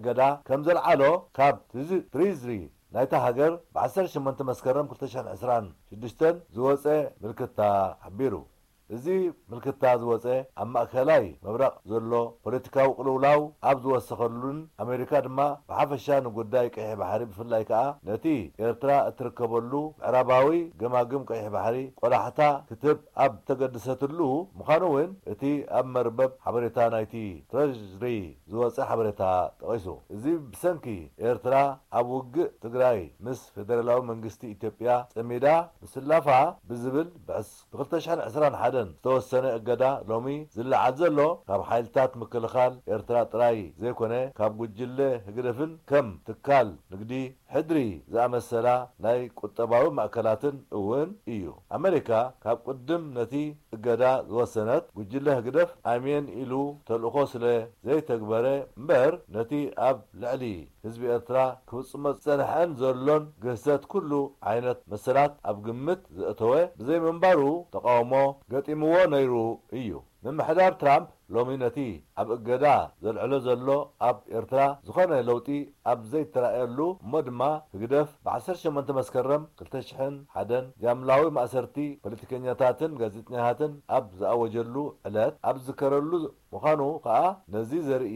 እገዳ ከም ዘልዓሎ ካብ ትዝ-፣ ትሪዝሪ ናይታ ሃገር ብ ዓሰርተ ሸሞንተ መስከረም ክልተ ሽሕን ዕስራን ሽዱሽተን ዝወጸ ምልክታ ሓቢሩ። እዚ ምልክታ ዝወጸ ኣብ ማእከላይ ምብራቕ ዘሎ ፖለቲካዊ ቅልውላው ኣብ ዝወሰኸሉን ኣሜሪካ ድማ ብሓፈሻ ንጉዳይ ቀይሕ ባሕሪ ብፍላይ ከኣ ነቲ ኤርትራ እትርከበሉ ምዕራባዊ ገማግም ቀይሕ ባሕሪ ቆላሕታ ክትህብ ኣብ ተገድሰትሉ ምዃኑ እውን እቲ ኣብ መርበብ ሓበሬታ ናይቲ ትረዥሪ ዝወጸ ሓበሬታ ጠቒሱ። እዚ ብሰንኪ ኤርትራ ኣብ ውግእ ትግራይ ምስ ፌደራላዊ መንግስቲ ኢትዮጵያ ጸሚዳ ምስላፋ ብዝብል ብዕስ-፣ ብ ክልተ ሽሕን ዕስራን ሓደን ዝተወሰነ እገዳ ሎሚ ዝለዓል ዘሎ ካብ ሓይልታት ምክልኻል ኤርትራ ጥራይ ዘይኮነ ካብ ጉጅለ ህግደፍን ከም ትካል ንግዲ ሕድሪ ዝኣመሰላ ናይ ቁጠባዊ ማእከላትን እውን እዩ። ኣመሪካ ካብ ቅድም ነቲ እገዳ ዝወሰነት ጉጅለ ህግደፍ ኣሜን ኢሉ ተልእኾ ስለ ዘይተግበረ እምበር ነቲ ኣብ ልዕሊ ህዝቢ ኤርትራ ክፍጽሞ ዝጸንሐን ዘሎን ግህሰት ኩሉ ዓይነት መሰላት ኣብ ግምት ዘእተወ ብዘይምንባሩ ተቓውሞ ገጢምዎ ነይሩ እዩ። ምምሕዳር ትራምፕ ሎሚ ነቲ ኣብ እገዳ ዘልዕሎ ዘሎ ኣብ ኤርትራ ዝኾነ ለውጢ ኣብ ዘይተራእየሉ እሞ ድማ ህግደፍ ብ ዓሰርተ ሸሞንተ መስከረም ክልተ ሽሕን ሓደን ጃምላዊ ማእሰርቲ ፖለቲከኛታትን ጋዜጠኛታትን ኣብ ዝኣወጀሉ ዕለት ኣብ ዝዝከረሉ ምዃኑ ከኣ ነዚ ዘርኢ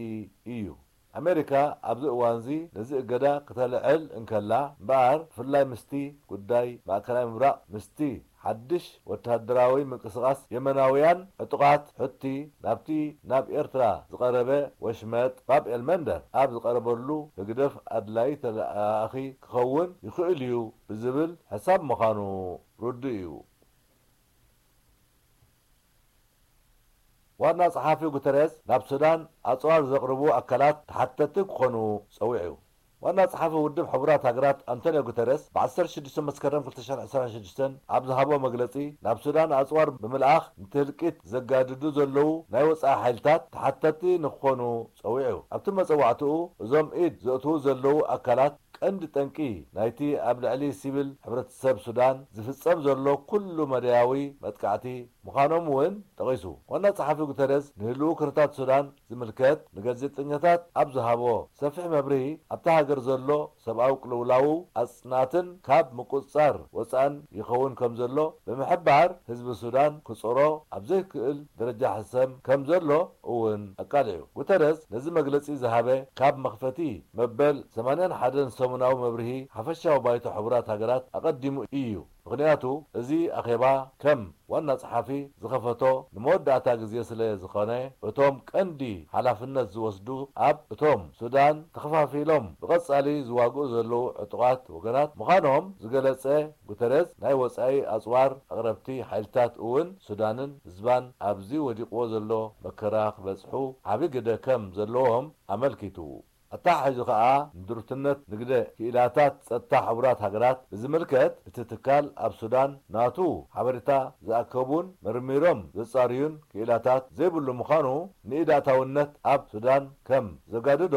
እዩ። ኣሜሪካ ኣብዚ እዋንዚ ነዚ እገዳ ክተልዕል እንከላ እምበኣር፣ ብፍላይ ምስቲ ጉዳይ ማእከላይ ምብራቕ፣ ምስቲ ሓድሽ ወተሃደራዊ ምንቅስቓስ የመናውያን ዕጡቓት ሑቲ ናብቲ ናብ ኤርትራ ዝቐረበ ወሽመጥ ባብ ኤልመንደብ ኣብ ዝቐረበሉ፣ ህግደፍ ኣድላዪ ተለኣኣኺ ክኸውን ይኽእል እዩ ብዝብል ሕሳብ ምዃኑ ርዱእ እዩ። ዋና ጸሓፊ ጉተሬዝ ናብ ሱዳን ኣጽዋር ዘቕርቡ ኣካላት ተሓተቲ ክኾኑ ጸዊዑ። ዋና ጸሓፊ ውድብ ሕቡራት ሃገራት ኣንቶንዮ ጉተሬዝ ብ ዓሰርተ ሽዱሽተ መስከረም ክልተ ሽሕን ዕስራን ሽዱሽተን ኣብ ዝሃቦ መግለጺ፣ ናብ ሱዳን ኣጽዋር ብምልኣኽ ነቲ ህልቂት ዘጋድዱ ዘለዉ ናይ ወጻኢ ሓይልታት ተሓተቲ ንክኾኑ ጸዊዑ። ኣብቲ መጸዋዕትኡ፣ እዞም ኢድ ዘእትዉ ዘለዉ ኣካላት ቀንዲ ጠንቂ ናይቲ ኣብ ልዕሊ ሲቪል ሕብረተሰብ ሱዳን ዝፍጸም ዘሎ ኩሉ መዳያዊ መጥቃዕቲ ምዃኖም እውን ጠቒሱ። ዋና ጸሓፊ ጉተረዝ ንህልው ኩነታት ሱዳን ዝምልከት ንጋዜጠኛታት ኣብ ዝሃቦ ሰፊሕ መብርሂ፣ ኣብታ ሃገር ዘሎ ሰብኣዊ ቅልውላው ኣጽናትን ካብ ምቁጽጻር ወጻእን ይኸውን ከም ዘሎ ብምሕባር፣ ህዝቢ ሱዳን ክጾሮ ኣብ ዘይክእል ደረጃ ሕሰም ከም ዘሎ እውን ኣቃሊዑ። ጉተረዝ ነዚ መግለጺ ዝሃበ ካብ መኽፈቲ መበል ሰማንያን ሓደን ሰሙናዊ መብርሂ ሓፈሻዊ ባይቶ ሕቡራት ሃገራት ኣቐዲሙ እዩ። ምኽንያቱ፣ እዚ ኣኼባ ከም ዋና ጸሓፊ ዝኸፈቶ ንመወዳእታ ግዜ ስለ ዝኾነ፣ እቶም ቀንዲ ሓላፍነት ዝወስዱ ኣብ እቶም ሱዳን ተኸፋፊሎም ብቐጻሊ ዝዋግኡ ዘለዉ ዕጡቓት ወገናት ምዃኖም ዝገለጸ ጉተረዝ፣ ናይ ወጻኢ ኣጽዋር ኣቕረብቲ ሓይልታት እውን ሱዳንን ህዝባን ኣብዚ ወዲቕዎ ዘሎ መከራ ክበጽሑ ዓቢ ግደ ከም ዘለዎም ኣመልኪቱ። ኣተሓሒዙ ከኣ ንድሩትነት ንግደ ክኢላታት ጸጥታ ሕቡራት ሃገራት ብዝምልከት፣ እቲ ትካል ኣብ ሱዳን ናቱ ሓበሬታ ዝኣከቡን መርሚሮም ዘጻርዩን ክኢላታት ዘይብሉ ምዃኑ፣ ንኢድ ኣእታውነት ኣብ ሱዳን ከም ዘጋድዶ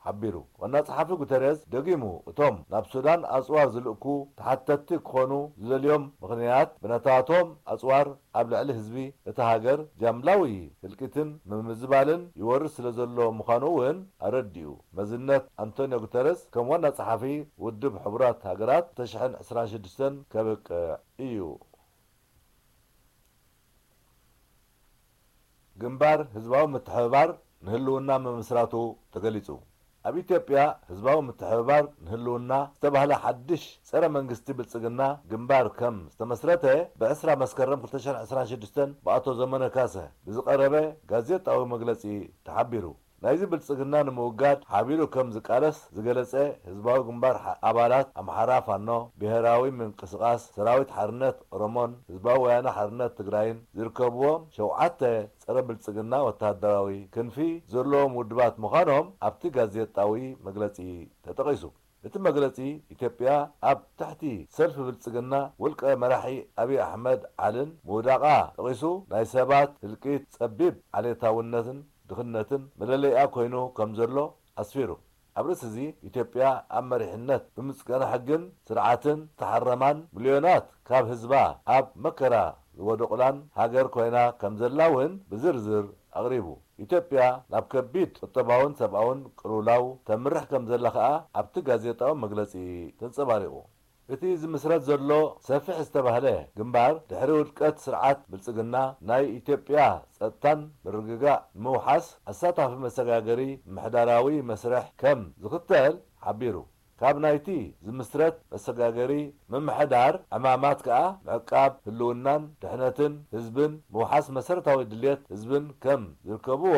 ሓቢሩ። ዋና ጸሓፊ ጉተሬዝ ደጊሙ፣ እቶም ናብ ሱዳን ኣጽዋር ዝልእኩ ተሓተትቲ ክኾኑ ዝደልዮም ምኽንያት፣ ብናታቶም ኣጽዋር ኣብ ልዕሊ ህዝቢ እታ ሃገር ጃምላዊ ህልቂትን ምምዝባልን ይወርድ ስለ ዘሎ ምዃኑ እውን ኣረዲኡ። መዝነት ኣንቶንዮ ጉተረዝ ከም ዋና ጸሓፊ ውድብ ሕቡራት ሃገራት ክልተ ሽሕን ዕስራን ሽዱሽተን ከብቅዕ እዩ። ግንባር ህዝባዊ ምትሕብባር ንህልውና ምምስራቱ ተገሊጹ። ኣብ ኢትዮጵያ ህዝባዊ ምትሕብባር ንህልውና ዝተባህለ ሓድሽ ጸረ መንግስቲ ብልጽግና ግንባር ከም ዝተመስረተ ብዕስራ መስከረም ክልተ ሽሕን ዕስራን ሽዱሽተን ብኣቶ ዘመነ ካሰ ብዝቐረበ ጋዜጣዊ መግለጺ ተሓቢሩ። ናይዚ ብልጽግና ንምውጋድ ሓቢሩ ከም ዝቃለስ ዝገለጸ ህዝባዊ ግንባር ሓ-፣ ኣባላት ኣምሓራ ፋኖ፣ ብሄራዊ ምንቅስቓስ ሰራዊት ሓርነት ኦሮሞን ህዝባዊ ወያነ ሓርነት ትግራይን ዝርከብዎም ሸውዓተ ጸረ ብልጽግና ወተሃደራዊ ክንፊ ዘለዎም ውድባት ምዃኖም ኣብቲ ጋዜጣዊ መግለጺ ተጠቒሱ። እቲ መግለጺ፣ ኢትዮጵያ ኣብ ትሕቲ ሰልፊ ብልጽግና ውልቀ መራሒ ኣብይ ኣሕመድ ዓልን ምውዳቓ ጠቒሱ፣ ናይ ሰባት ህልቂት፣ ጸቢብ ዓሌታውነትን ድኽነትን መለለይኣ ኮይኑ ከም ዘሎ ኣስፊሩ። ኣብ ርእሲ እዚ፣ ኢትዮጵያ ኣብ መሪሕነት ብምጽገና ሕግን ስርዓትን ዝተሓረማን ሚልዮናት ካብ ህዝባ ኣብ መከራ ዝወደቑላን ሃገር ኮይና ከም ዘላ እውን ብዝርዝር ኣቕሪቡ። ኢትዮጵያ ናብ ከቢድ ቁጠባውን ሰብኣውን ቅልውላው ተምርሕ ከም ዘላ ከኣ ኣብቲ ጋዜጣዊ መግለጺ ተንጸባሪቑ። እቲ ዝምስረት ዘሎ ሰፊሕ ዝተባህለ ግንባር፣ ድሕሪ ውድቀት ስርዓት ብልጽግና ናይ ኢትዮጵያ ጸጥታን ምርግጋእ ንምውሓስ ኣሳታፊ መሰጋገሪ ምምሕዳራዊ መስርሕ ከም ዝኽተል ሓቢሩ። ካብ ናይቲ ዝምስረት መሰጋገሪ ምምሕዳር ዕማማት ከኣ ምዕቃብ ህልውናን ድሕነትን ህዝብን ምውሓስ መሰረታዊ ድልየት ህዝብን ከም ዝርከብዎ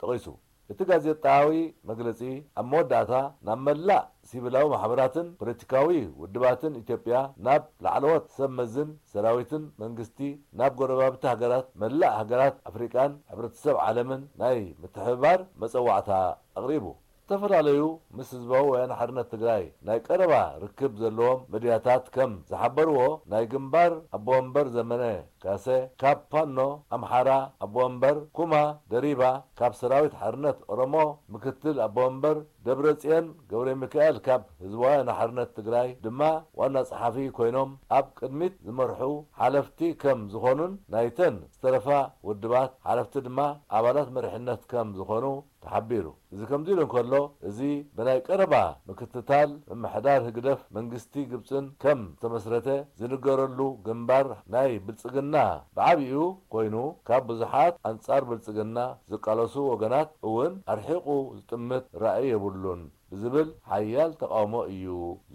ጠቒሱ። እቲ ጋዜጣዊ መግለጺ ኣብ መወዳእታ ናብ መላእ ሲቪላዊ ማሕበራትን ፖለቲካዊ ውድባትን ኢትዮጵያ፣ ናብ ላዕለዎት ሰብ መዝን ሰራዊትን መንግስቲ፣ ናብ ጎረባብቲ ሃገራት፣ መላእ ሃገራት ኣፍሪቃን ሕብረተሰብ ዓለምን ናይ ምትሕብባር መጸዋዕታ ኣቕሪቡ። ዝተፈላለዩ ምስ ህዝባዊ ወያነ ሓርነት ትግራይ ናይ ቀረባ ርክብ ዘለዎም መድያታት ከም ዝሓበርዎ፣ ናይ ግንባር ኣቦ ወንበር ዘመነ ካሰ ካብ ፋኖ ኣምሓራ ኣቦ ወንበር፣ ኩማ ደሪባ ካብ ሰራዊት ሓርነት ኦሮሞ ምክትል ኣቦ ወንበር፣ ደብረጽዮን ገብረ ሚካኤል ካብ ህዝባዊ ወያነ ሓርነት ትግራይ ድማ ዋና ጸሓፊ ኮይኖም ኣብ ቅድሚት ዝመርሑ ሓለፍቲ ከም ዝኾኑን ናይተን ዝተረፋ ውድባት ሓለፍቲ ድማ ኣባላት መሪሕነት ከም ዝኾኑ ተሓቢሩ። እዚ ከምዚ ኢሉ እንከሎ፣ እዚ ብናይ ቀረባ ምክትታል ምምሕዳር ህግደፍ መንግስቲ ግብጽን ከም ዝተመስረተ ዝንገረሉ ግንባር ናይ ብልጽግና ብዓቢኡ ኮይኑ፣ ካብ ብዙሓት ኣንጻር ብልጽግና ዝቃለሱ ወገናት እውን ኣርሒቑ ዝጥምት ራእይ የብሉን ብዝብል ሓያል ተቓውሞ እዩ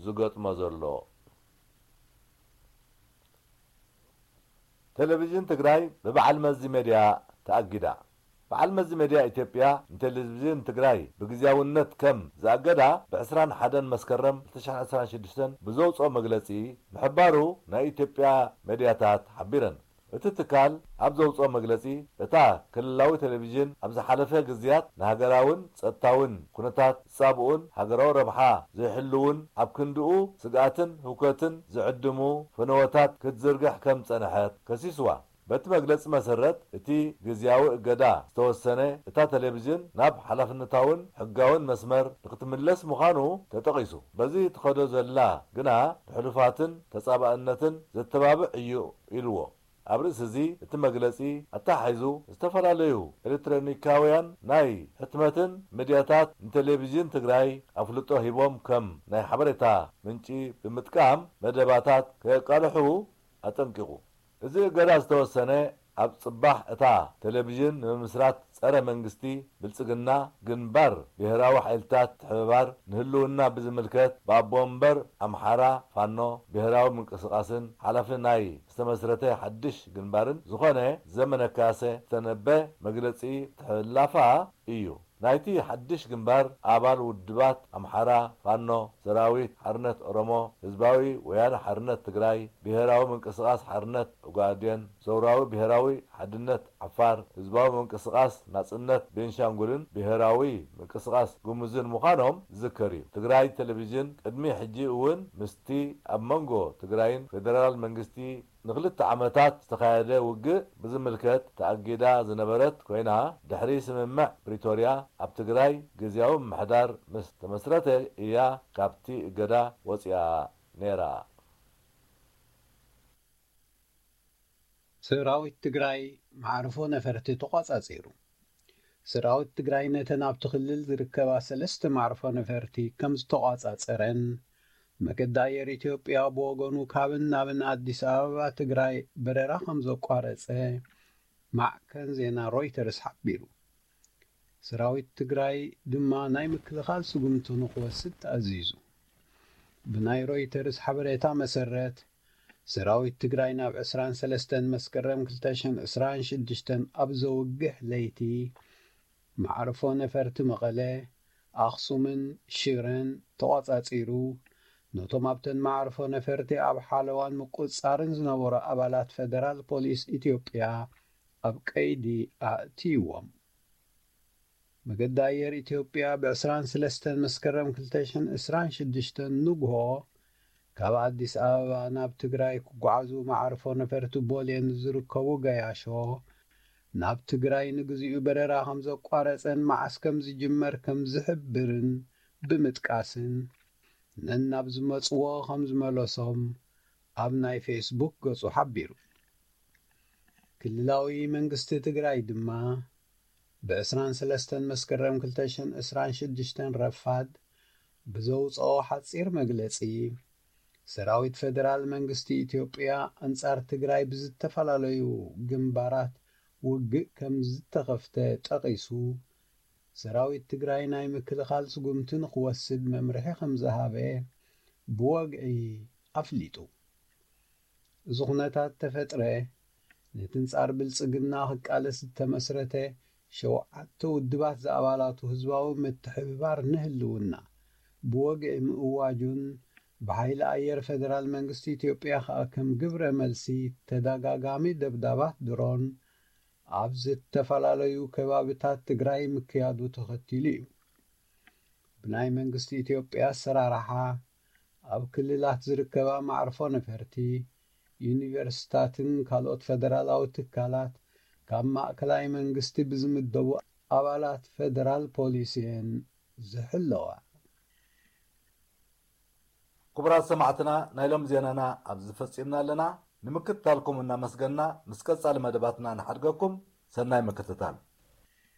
ዝገጥሞ ዘሎ። ቴሌቪዥን ትግራይ ብበዓል መዚ ሜድያ ተኣጊዳ። በዓል መዚ ሜድያ ኢትዮጵያ ንቴሌቪዥን ትግራይ ብግዝያውነት ከም ዝኣገዳ ብዕስራን ሓደን መስከረም ክልተ ሺሕ ዕስራን ሽዱሽተን ብዘውፅኦ መግለፂ ምሕባሩ ናይ ኢትዮጵያ ሜድያታት ሓቢረን። እቲ ትካል ኣብ ዘውፅኦ መግለፂ፣ እታ ክልላዊ ቴሌቪዥን ኣብ ዝሓለፈ ግዝያት ንሃገራውን ጸጥታውን ኩነታት ዝጻብኡን ሃገራዊ ረብሓ ዘይሕልውን፣ ኣብ ክንድኡ ስግኣትን ህውከትን ዝዕድሙ ፈነወታት ክትዝርግሕ ከም ዝጸንሐት ከሲስዋ። በቲ መግለጺ መሰረት፣ እቲ ግዝያዊ እገዳ ዝተወሰነ፣ እታ ቴሌቪዥን ናብ ሓላፍነታውን ሕጋውን መስመር ንክትምለስ ምዃኑ ተጠቒሱ። በዚ ትኸዶ ዘላ ግና ንሕሉፋትን ተጻባእነትን ዘተባብዕ እዩ ኢልዎ። ኣብ ርእሲ እዚ፣ እቲ መግለጺ ኣተሓሒዙ፣ ዝተፈላለዩ ኤሌክትሮኒካውያን ናይ ሕትመትን ሚድያታት ንቴሌቪዥን ትግራይ ኣፍልጦ ሂቦም ከም ናይ ሓበሬታ ምንጪ ብምጥቃም መደባታት ከየቃልሑ ኣጠንቂቑ። እዚ እገዳ ዝተወሰነ፣ ኣብ ጽባሕ እታ ቴሌቪዥን ንምምስራት ጸረ መንግስቲ ብልጽግና ግንባር ብሄራዊ ሓይልታት ምትሕብባር ንህልውና ብዝምልከት ብኣቦ ወንበር ኣምሓራ ፋኖ ብሄራዊ ምንቅስቓስን ሓላፊ ናይ ዝተመስረተ ሓድሽ ግንባርን ዝኾነ ዘመነ ካሰ ዝተነበ መግለጺ ምትሕልላፋ እዩ። ናይቲ ሓድሽ ግንባር ኣባል ውድባት ኣምሓራ ፋኖ፣ ሰራዊት ሓርነት ኦሮሞ፣ ህዝባዊ ወያነ ሓርነት ትግራይ፣ ብሄራዊ ምንቅስቓስ ሓርነት ኦጋዴን፣ ሰውራዊ ብሄራዊ ሓድነት ዓፋር፣ ህዝባዊ ምንቅስቓስ ናጽነት ቤንሻንጉልን ብሄራዊ ምንቅስቓስ ጉሙዝን ምዃኖም ዝዝከር እዩ። ትግራይ ቴሌቪዥን ቅድሚ ሕጂ እውን ምስቲ ኣብ መንጎ ትግራይን ፌደራል መንግስቲ ንክልተ ዓመታት ዝተኻየደ ውግእ ብዝምልከት ተኣጊዳ ዝነበረት ኮይና፣ ድሕሪ ስምምዕ ፕሪቶርያ ኣብ ትግራይ ግዝያዊ ምምሕዳር ምስ ተመስረተ እያ ካብቲ እገዳ ወፂኣ ነይራ። ሰራዊት ትግራይ መዓርፎ ነፈርቲ ተቋጻጺሩ። ሰራዊት ትግራይ ነተን ኣብቲ ክልል ዝርከባ ሰለስተ መዓርፎ ነፈርቲ ከም ዝተቋጻጸረን፣ መገዲ ኣየር ኢትዮጵያ ብወገኑ ካብን ናብን ኣዲስ ኣበባ ትግራይ በረራ ከም ዘቋረጸ ማዕከን ዜና ሮይተርስ ሓቢሩ። ሰራዊት ትግራይ ድማ ናይ ምክልኻል ስጉምቲ ንኽወስድ ተኣዚዙ። ብናይ ሮይተርስ ሓበሬታ መሰረት፣ ሰራዊት ትግራይ ናብ ዕስራን ሰለስተን መስከረም ክልተ ሽሕን ዕስራን ሽዱሽተን ኣብ ዘውግሕ ለይቲ፣ መዓርፎ ነፈርቲ መቐለ፣ ኣኽሱምን ሽረን ተቖጻጺሩ፣ ነቶም ኣብተን መዓርፎ ነፈርቲ ኣብ ሓለዋን ምቁጽጻርን ዝነበሩ ኣባላት ፈደራል ፖሊስ ኢትዮጵያ ኣብ ቀይዲ ኣእትይዎም። መገዲ ኣየር ኢትዮጵያ ብዕስራን ሰለስተን መስከረም ክልተ ሽሕን ዕስራን ሽዱሽተን ንግሆ ካብ ኣዲስ ኣበባ ናብ ትግራይ ክጓዓዙ መዓርፎ ነፈርቲ ቦሌ ንዝርከቡ ገያሾ፣ ናብ ትግራይ ንግዚኡ በረራ ከም ዘቋረጸን መዓስ ከም ዝጅመር ከም ዝሕብርን ብምጥቃስን፣ ነናብ ዝመጽዎ ከም ዝመለሶም ኣብ ናይ ፌስቡክ ገጹ ሓቢሩ። ክልላዊ መንግስቲ ትግራይ ድማ፣ ብ23 መስከረም 2026 ረፋድ ብዘውፅኦ ሓፂር መግለፂ፣ ሰራዊት ፌደራል መንግስቲ ኢትዮጵያ ኣንጻር ትግራይ ብዝተፈላለዩ ግንባራት ውግእ ከም ዝተኸፍተ ጠቒሱ፣ ሰራዊት ትግራይ ናይ ምክልኻል ስጉምቲ ንኽወስድ መምርሒ ከም ዝሃበ ብወግዒ ኣፍሊጡ። እዚ ኩነታት ተፈጥረ፣ ነቲ ኣንጻር ብልጽግና ክቃለስ ዝተመስረተ ሸውዓተ ውድባት ዝኣባላቱ ህዝባዊ ምትሕብባር ንህልውና ብወግዒ ምእዋጁን፣ ብሓይሊ ኣየር ፌደራል መንግስቲ ኢትዮጵያ ከኣ ከም ግብረ መልሲ ተደጋጋሚ ደብዳባት ድሮን ኣብ ዝተፈላለዩ ከባብታት ትግራይ ምክያዱ ተኸቲሉ እዩ። ብናይ መንግስቲ ኢትዮጵያ ኣሰራርሓ፣ ኣብ ክልላት ዝርከባ መዕርፎ ነፈርቲ፣ ዩኒቨርሲታትን ካልኦት ፌደራላዊ ትካላት ካብ ማእከላይ መንግስቲ ብዝምደቡ ኣባላት ፌደራል ፖሊስ እየን ዝሕለዋ። ክቡራት ሰማዕትና፣ ናይ ሎም ዜናና ኣብዚ ፈጺምና ኣለና። ንምክትታልኩም እናመስገና፣ ምስ ቀጻሊ መደባትና ንሓድገኩም። ሰናይ ምክትታል።